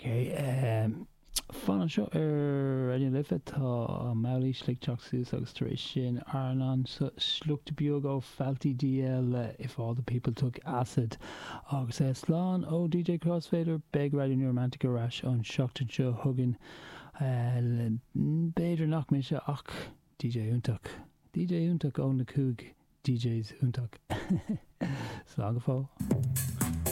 Ok, fan anseo ar Raidió na Life, tá Maolíosa ag teacht suas agus tar éis sin Airneán, sliocht beag ó FaltyDL le If All The People Took Acid. Agus slán ó DJ Crossfader, beidh Raidió New Romantic ar ais an seachtain seo chugainn. B'fhéidir nach mise ach DJ iontach. DJ iontach ó na 5 DJs iontach. Slán go fóill.